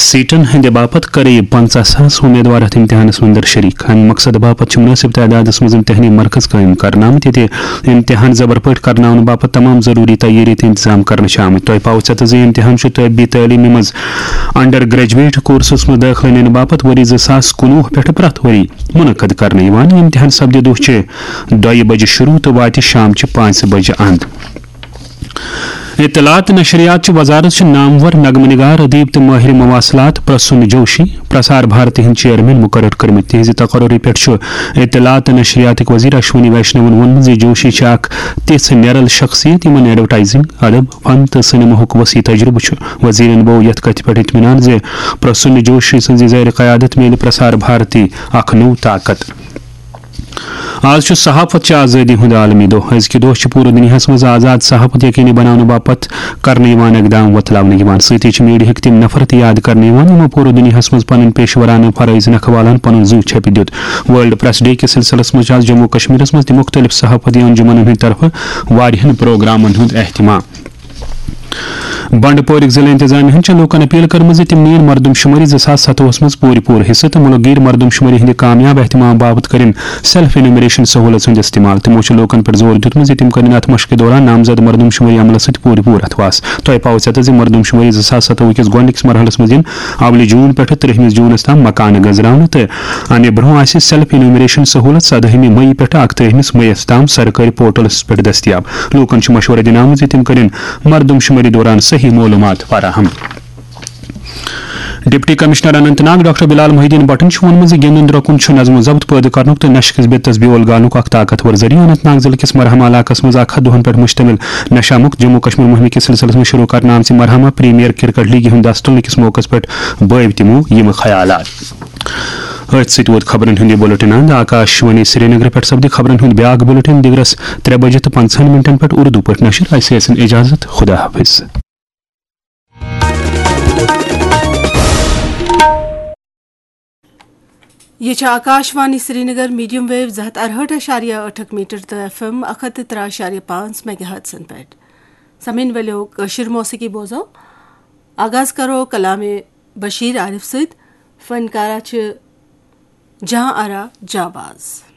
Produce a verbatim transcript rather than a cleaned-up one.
Satan ہٕنٛدِ باپتھ قریب پنژاہ ساس امیدوار اتھ امتحانس منٛز در شریک۔ امہِ مقصدٕ باپتھ چھِ مناسب تعدادس منٛز امتحانی مرکز قٲیِم کرنہٕ آمٕتۍ، ییٚتہِ امتحان زبر پٲٹھۍ کرناونہٕ باپتھ تمام ضروٗری تیٲری تہٕ انتظام کرنہٕ چھِ آمٕتۍ۔ تۄہہِ پاوٕ ژےٚ زِ امتحان چھُ طبی تعلیمہِ منٛز انڈر گریجویٹ کورسس منٛز دٲخلہٕ نِنہٕ باپتھ ؤری زٕ ساس کُنوُہ پٮ۪ٹھٕ پرٛٮ۪تھ ؤری منعقد کرنہٕ یِوان۔ امتحان سپدِ دۄہ چہِ دۄیہِ بجہِ شروع تہٕ واتہِ شام چہِ پانٛژِ بجہِ اند۔ اطلاعات تہٕ نشریات چہِ وزارت چھِ نامور نغمہٕ نگار، ادیب تہٕ ماہر مواصلات پرسون جوشی پرسار بھارتی ہٕنٛدۍ چیئرمین مقرر کٔرمٕتۍ۔ تِہنٛزِ تقرری پٮ۪ٹھ چھُ اطلاعات تہٕ نشریاتٕکۍ وزیر اشونی ویشنون ووٚنمُت زِ جوشی چھِ اکھ تِژھ نٮ۪رل شخصیت یِمن ایڈورٹائزنگ، ادب، فن تہٕ سینماہُک وسیع تجربہٕ چھُ۔ وزیرن بوو یتھ کتھِ پٮ۪ٹھ اطمینان زِ پرسون جوشی سٕنٛزِ زیر قیادت میلہِ پرسار بھارتی اکھ نوٚو طاقت۔ آز چھُ صحافت چہِ آزٲدی ہُنٛد عالمی دۄہ۔ أزکہِ دۄہ چھِ پوٗرٕ دُنیاہَس منٛز آزاد صحافت یقینی بناونہٕ باپتھ کرنہٕ یِوان اقدام وۄتلاونہٕ یِوان۔ سۭتی چھِ میڈیاہٕکۍ تِم نفر تہِ یاد کرنہٕ یِوان، یِمو پوٗرٕ دُنیاہَس منٛز پنٕنۍ پیشورانہٕ فرٲیض نکھٕ والان پنُن زُو چھپہِ دیُت۔ ورلڈ پریس ڈے کِس سلسلس منٛز چھِ آز جموں کشمیرس منٛز تہِ مختلف صحافتی انجمنن ہٕنٛدِ طرفہٕ واریاہن پروگرامن ہُنٛد اہتمام۔ بنڈپورٕکۍ ضلع انتظامیہ ہن چھِ لوٗکن اپیل کٔرمٕژ زِ تِم نِیِن مردم شمٲری زٕ ساس ستوُہس منٛز پوٗرِ پوٗرٕ حصہٕ تہٕ مُلک گیٖر مردم شمٲری ہٕنٛدِ کامیاب اہتمام باپتھ کٔرِن سیلف انیومریشن سہولت ہُنٛد استعمال۔ تِمو چھُ لوٗکن پٮ۪ٹھ زور دیُتمُت زِ تِم کٔرِن اتھ مشقہِ دوران نامزد مردم شمٲری عملس سۭتۍ پوٗرٕ پوٗرٕ اتھواس۔ تۄہہِ پاوٕ ژٮ۪تس زِ مردم شمٲری زٕ ساس ستوُہ کِس گۄڈٕنِکِس مرحلس منٛز یِن اولہِ جوٗن پٮ۪ٹھٕ ترٛہمِس جوٗنس تام مکانہٕ گنزراونہٕ تہٕ امہِ برٛونٛہہ آسہِ سیلف انیومریشن سہولت سدٲہمہِ مئی پٮ۪ٹھٕ اکترٛہمِس مئیس تام سرکٲرۍ پورٹلس پٮ۪ٹھ دٔستیاب۔ لوٗکن چھُ مشورٕ دِنہٕ آمُت زِ تِم کٔرِن مردم شمٲری دوران صحیح معلوٗمات فراہم۔ Deputy commissioner Anant Nag doctor بلال محی الدین بٹن چھُ ووٚنمُت زِ گِنٛدُن درٛۄکُن چھُ نظم و ضبط پٲدٕ کرنُک تہٕ نشہٕ کِس بِتس بیول گالنُک اکھ طاقتور ذٔریعہٕ۔ اننت ناگ ضلعہٕ کِس مرحمہ علاقس منٛز اکھ ہتھ دۄہن پٮ۪ٹھ مشتمل نشہ مکت جموں کشمیر مُہمہِ کِس سلسلس منٛز شروع کرنہٕ آمژِ مرحمہ پریمیئر کرکٹ لیگہِ ہُنٛد دستہٕ تُلنہٕ کِس موقعس پٮ۪ٹھ بٲوۍ تِمو یِم خیالات۔ أتھۍ سۭتۍ ووت خبرن ہُنٛد یہِ بُلٹن اند۔ آکاش وانی سرینگر پٮ۪ٹھ سپدِ خبرن ہُنٛد بیاکھ بُلٹن دِگرس ترٛےٚ بجہِ تہٕ پنٛژاہن منٹن پٮ۪ٹھ اردو پٲٹھۍ نشر۔ اسہِ ٲسِن اجازت، خدا حافظ۔ یہ چھِ آکاش وانی سرینگر، میڈیم ویو زٕ ہتھ ارہٲٹھ اعشاریہ ٲٹھ میٹر تہٕ ایف ایم اکھ ہتھ تہٕ ترٛےٚ اعشاریہ پانٛژھ میگا ہرٹزن پٮ۪ٹھ۔ سمعن ؤلِو کٲشِر موسیقی بوزو۔ آغاز کرو کلام بشیر عارف سۭتۍ۔ فنکارہ چھِ جہاں آرا جانباز۔